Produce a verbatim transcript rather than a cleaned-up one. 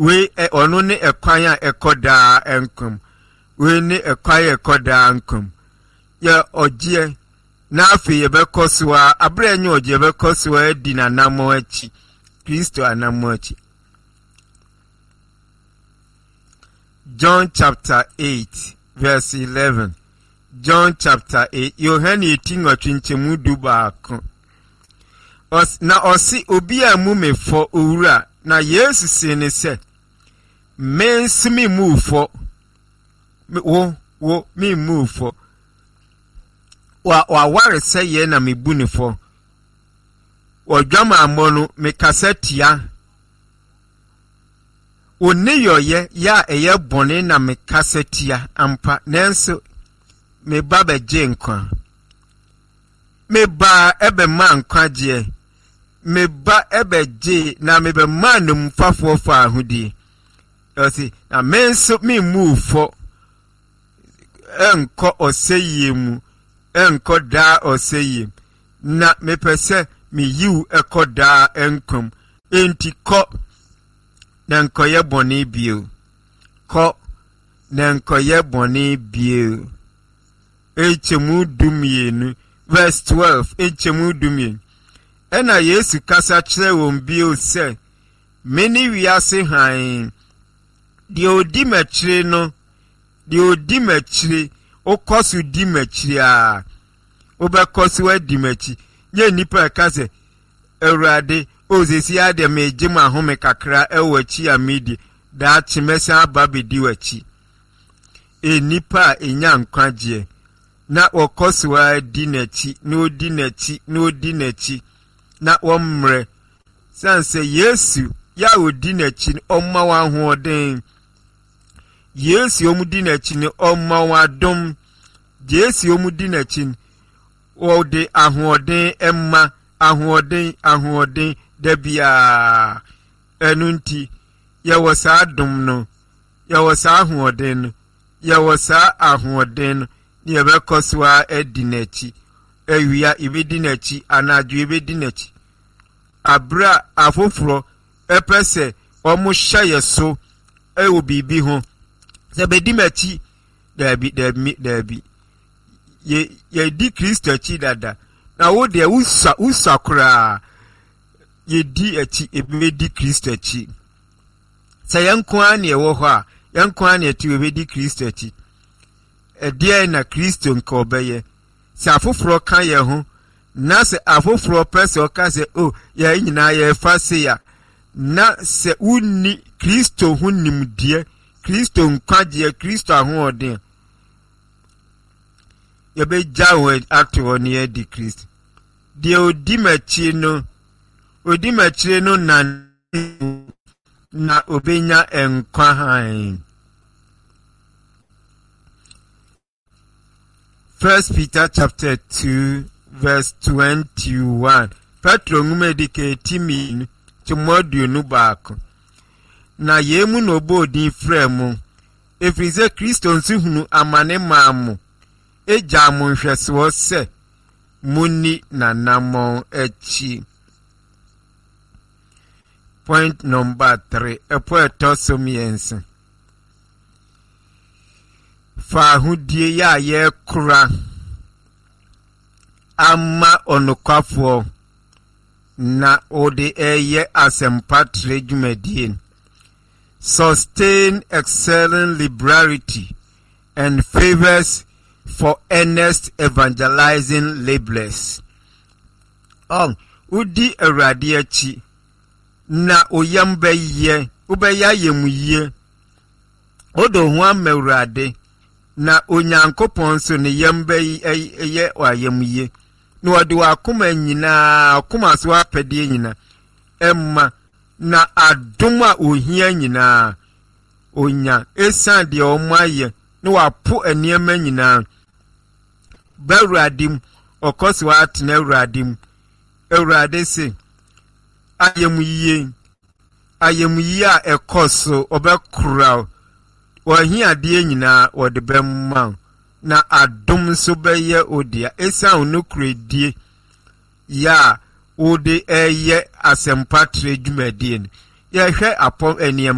Wei ɔno ne ɛkwan a ɛkɔ daa nkwa mu. Wei ne ɛkwan a ɛkɔ daa nkwa mu. Yɛ ɔgyeɛ na afei yɛbɛkɔ so a abere a ɛnyɛ ɔgyeɛ, yɛbɛkɔ so a adi n'anammɔn akyi, Kristo anammɔn akyi. John chapter eight verse eleven. John chapter eight, Yohane eti nwɔtwe nkyɛmu du baako. Na ɔse, obi a mu me fɔ, owura. Na Yesu see ne sɛ, me nso me mu fɔ. Wo, wo, me mu fɔ. Wa, waware sɛ yɛ na mebu ne fɔ. Wɔdwamammɔ no, mekasa tia. Wo nneyɔeɛ yɛ a ɛyɛ bɔne na mekasa tia ampa, nanso me ba bɛgye nkwa. Me ba ɛbɛma nkwagyeɛ. Me ba ɛbɛgye na mebɛma nnomfafoɔ fa ahodie. Ɔse, na me nso memmu fɔ ɛnkɔ ɔsɛyie mu, ɛnkɔ daa ɔsɛyie mu. Na mepɛ sɛ meyiw ɛkɔ daa nkwa mu. Enti kɔ na nkɔyɛ bɔne bio. Kɔ na nkɔyɛ bɔne bio. Nkyɛmu du mmienu, verse twelve, nkyɛmu du mmienu. Ɛna Yesu kasa kyerɛ wɔn bio sɛ, me ne wiase hann. Deɛ odi m'akyire no, deɛ odi m'akyire, wokɔ so di m'akyire a, wobɛkɔ so adi m'akyi. Nyɛ nnipa ɛka sɛ, Awurade, o sesi adeɛ megye m'ahome kakra ɛwɔ akyi a medi, daakye mɛsan aba bɛdi w'akyi. Nnipa a ɛnya nkwagyeɛ na wɔkɔ so ara di n'akyi, na odi n'akyi, na odi n'akyi, na wɔmmerɛ. Sane sɛ Yesu yɛ a odi n'akyi no, ɔma wɔn ahoɔden. Yesu a wɔdi n'akyi no, ɔma wɔn adom. Yesu a wɔdi n'akyi no, wɔde ahoɔden ma, ahoɔden, ahoɔden da biara. Ɛno nti, yɛwɔ saa adom no, yɛwɔ saa ahoɔden no, yɛwɔ saa ahoɔden no, na yɛbɛkɔ so ara adi n'akyi. Awia yɛbɛdi n'akyi, anadwo yɛbɛdi n'akyi. Abere a afoforɔ ɛpɛ sɛ wɔn hyɛ yɛ so ɛwɔ biribi ho, sɛ bɛdi m'akyi, daabi, daabi, daabi. Yɛ, yɛdi Kristo akyi dada. Na wo deɛ wosua, wosua koraa. Yɛdi akyi, yɛbɛdi Kristo akyi. Sɛ yɛn nko ara na ɛwɔ hɔ a, yɛn nko ara na ɛte, yɛbɛdi Kristo akyi. Ɛdeɛn na Kristo nka ɔbɛyɛ? Sɛ afoforɔ ka yɛn ho, na sɛ afoforɔ pɛ sɛ ɔka sɛ, o, yɛn nyinaa yɛfa se a, na sɛ wonni Kristo ho nimdeɛ, Kristo nkwagyeɛ, Kristo ahoɔden, yɛbɛgya wɔn ato hɔ na yɛadi Kristo. Deɛ odi m'akyi no, odi m'akyire no na na obenya nkwa hann. First Peter chapter two verse twenty-one. Petro nwoma edi kan eti mmienu kyɛmu aduonu baako. Na yei mu na ɔbɔɔ din frɛɛ mo, ɛfiri sɛ Kristo nso hunu amane maa mo, egyaa mo nhwɛsoɔ sɛ monni n'anammɔn akyi. Point number three, ɛpo ɛtɔ so mmiɛnsa. Fa ahodie yɛ a yɛrekora ama ɔnokwafoɔ na ɔde ɛyɛ asɛmpatrɛ dwumadie. Sustain excelling liberality and favors for earnest evangelizing laborers. Ɔn, wodi Awurade akyi na oyam bɛyɛ, wobɛyɛ ayamyie. Wode wo ho ama Awurade na Onyankopɔn nso ne yam bɛyɛ ayamyie. Na ɔde w'akoma nyinaa, akoma so apɛdeɛ nyinaa ɛma, na adom a ohia nyinaa onya esiane deɛ ɔmo ayɛ na wapo nneɛma nyinaa. Ba Awurade mu, ɔkɔ so atena Awurade mu. Awurade se, ayamyie, ayamyie a ɛkɔ so, ɔbɛkora wo. W'ahiadeɛ nyinaa wɔde bɛma wo, na adom nso bɛyɛ wo dea. Esiane wo nokorɛdie yɛ a wode ɛyɛ asɛmpatrɛ dwumadie no. Yɛhwɛ apɔm nneɛma.